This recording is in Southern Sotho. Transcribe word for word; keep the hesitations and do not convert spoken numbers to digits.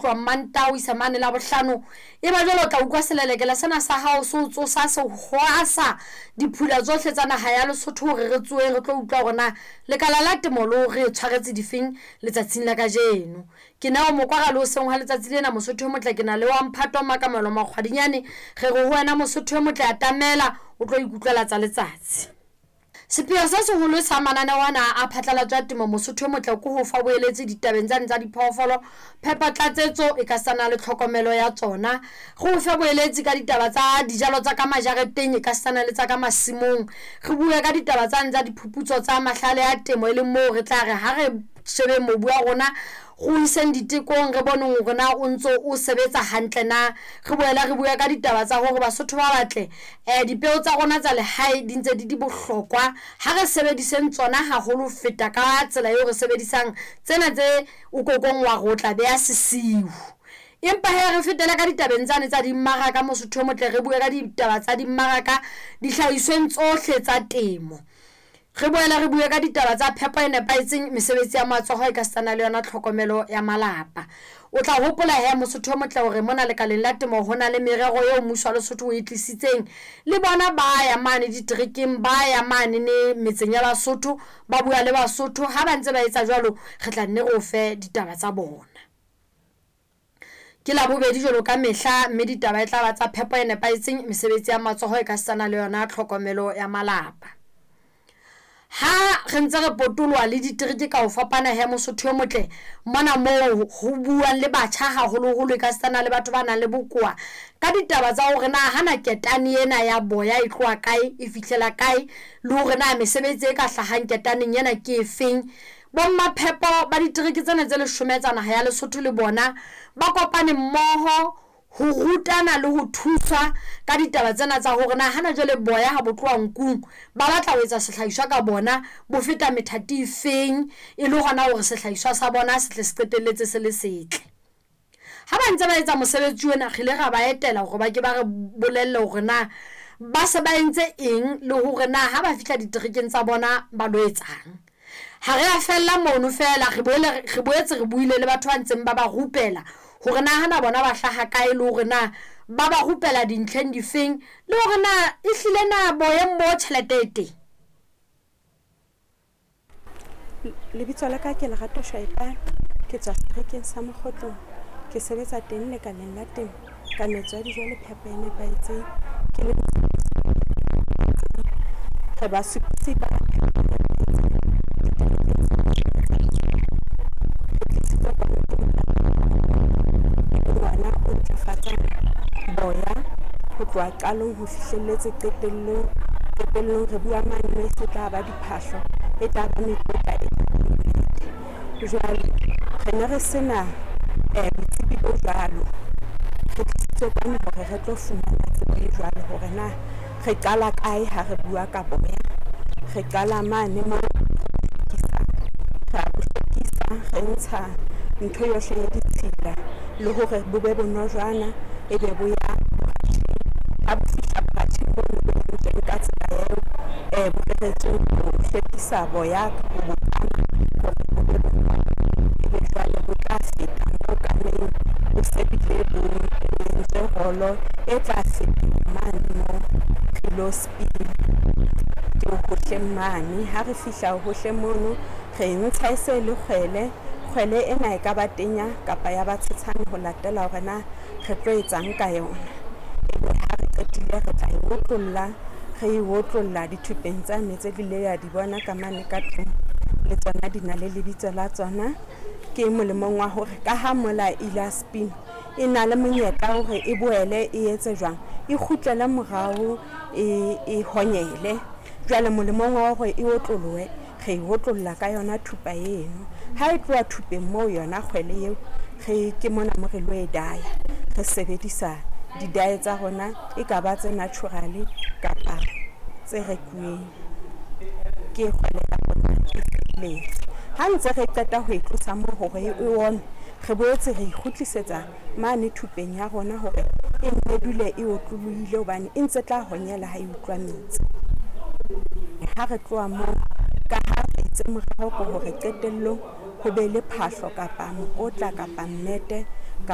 Tloha Mantaha ho isa mane Labohlano, e ba jwale o tla utlwa selelekela sena sa hao se o tsosa se hwasa diphula tsohle tsa naha ya Lesotho hore re tsoheng re tlo utlwa hore na lekala la temo le o re tshwaretse difeng letsatsing la kajeno. Ke Neo Mokwara le hoseng hwa letsatsi lena Mosotho e motle ke na le wa Mphato Makamelo Makgwadinyane. Re re ho wena Mosotho e motle atamela o tlo ikutlwela tsa letsatsi. Sepheo se seholo sa mananeo ana a phatlalatso ya temo Mosotho e motle ke ho fa boeletsi ditabeng tsane tsa diphoofolo, phepo, tlatsetso e ka sana le tlhokomelo ya tsona. Re o fe boeletsi ka ditaba tsa dijalo tsa ka majareteng e ka sana le tsa ka masimong. Re bue ka ditaba tsane tsa diphuputso tsa mahlale a temo e leng moo re tla re ha re shebeng mobu wa rona re o iseng ditekong re boneng hore na o ntso o sebetsa hantle na. Re boele re bue ka ditaba tsa hore Basotho ba batle um dipeo tsa rona tsa lehae di ntse di di bohlokwa, ha re sebediseng tsona haholo ho feta ka tsela eo re sebedisang tsena tse o kokong wa re o tla beha sesiu. Empa hee re fetele ka ditabeng tsane tsa dimmaraka Mosotho e motle, re bue ka ditaba tsa dimmaraka dihlahisweng tsohle tsa temo. Re boele re bue ka ditaba tsa phepo e nepahetseng, mesebetsi ya matsoho e ka setsana le yona tlhokomelo ya malapa. O tla hopola he Mosotho e motle hore mona lekaleng la temo ho na le merero eo mmuso wa Lesotho o e tlisitseng. Le bona ba ya mane diterekeng, ba ya mane ne metseng ya Basotho, ba bua le Basotho. Ha ba ntse ba etsa jwalo, re tla nne re o fe ditaba tsa bona. Ke Labobedi jwalo ka mehla, mme ditaba e tla ba tsa phepo e nepahetseng, mesebetsi ya matsoho e ka setsana le yona tlhokomelo ya malapa. Ha re ntse re potoloha le ditereke ka ho fapana he Mosotho e motle, mona moo ho buang le batjha haholoholo e ka setsana le batho ba nang le bokowa ka ditaba tsa hore na hana ketane ena ya boya e tloha kae, e fihlela kae, le hore na mesebetsi e ka hlahang ketaneng ena ke efeng. Bommaphepo ba ditereke tsena tse leshome tsa naha ya Lesotho le bona ba kopane mmoho ho rutana le ho thuswa ka ditaba tsena tsa hore na hana jwale boya ha bo tloha nkung ba batla ho etsa sehlahiswa ka bona bo feta methati e feng, e le hona hore sehlahiswa sa bona se tle se qetelletse se le setle. Ha ba ntse ba etsa mosebetsi ona, re ile ra ba etela hore ba ke ba re bolelle hore na ba se ba entse eng le hore na ha ba fihla diterekeng tsa bona ba lo etsang. Ha re a fella mono fela, re boele re boetse re buile le batho ba ntseng ba ba rupela hore na hana bona ba hlaha kae, le hore na ba ba rupela dintlheng difeng, le hore na ehlile na boyeng bo tjhelete e teng. Lebitso la ka ke Lerato Shaipane, ke tswa seterekeng sa Mokgotlong. Ke sebetsa teng lekaleng la temo ka metso ya dijo le phepo e nepahetseng. Ke le re basupisi ba phepo e nepahetseng diterekeng tse leshome tsa Lesotho. Re tlisitswe kwano ke e leng ona o ntlafatsang boya ho tloha qalong ho fihlelletse qetellong. Qetellong re bua mane moo e se tla ba diphahlo, e tla ba mekotla, e tla ba mmete. Jwale re ne re sena botsebi bo jwalo. Re tlisitswe kwano hore re tlo fumana tsebo e jwalo hore na re qala kae ha re bua ka boya. Re qala mane moo re ra bo hlwekisa, re ntsha ntho yohle ya ditshila le hore bo be bonojana, ebe bo ya ha bo fihla boratjheng bono bo entsweng ka tsela eo bo reretsweng ho hlwekisa boya ho bo kama hore bo be bonolo. Ebe jwale bo tla feta moo kameng bo se bile bo entswe rolo e tla feta mane moo re lo spin-a ke hohleng mane. Ha re fihla hohleng mono re ntsha e se le kgwele. Kgwele ena e ka ba tenya kapa ya ba tshetshane ho latela hore na re tlo etsang ka yona. Ebe ha re qetile re tla e otlolla, re e otlolla dithupeng tsane tse le ya di bona ka mane ka tlung, le tsona di na le lebitso la tsona. Ke molemong wa hore ka ha mola ile spin e na le monyetla hore e boele e etse jwang, e kgutlele morao e e honyele. Jwale molemong wa hore e otlolohe, re e otlolla ka yona thupa eno. Ha e tloha thupeng moo yona kgwele eo, re ke mona mo re lo e daya. Re sebedisa di-dye tsa rona, e ka ba tse natural kapa tse rekuweng. Ke kgwele ya rona e felletse. Ha ntse re qeta ho e tlosa moo hore e ome, re boetse re e kgutlisetsa mane thupeng ya rona hore e nne dule e otlolohile hobane e ntse tla honyela ha e utlwa metsi. Ha re tloha moo, ka ha re itse morero ke hore qetellong ho be le phahlo kapa mokotla kapa mmete kapa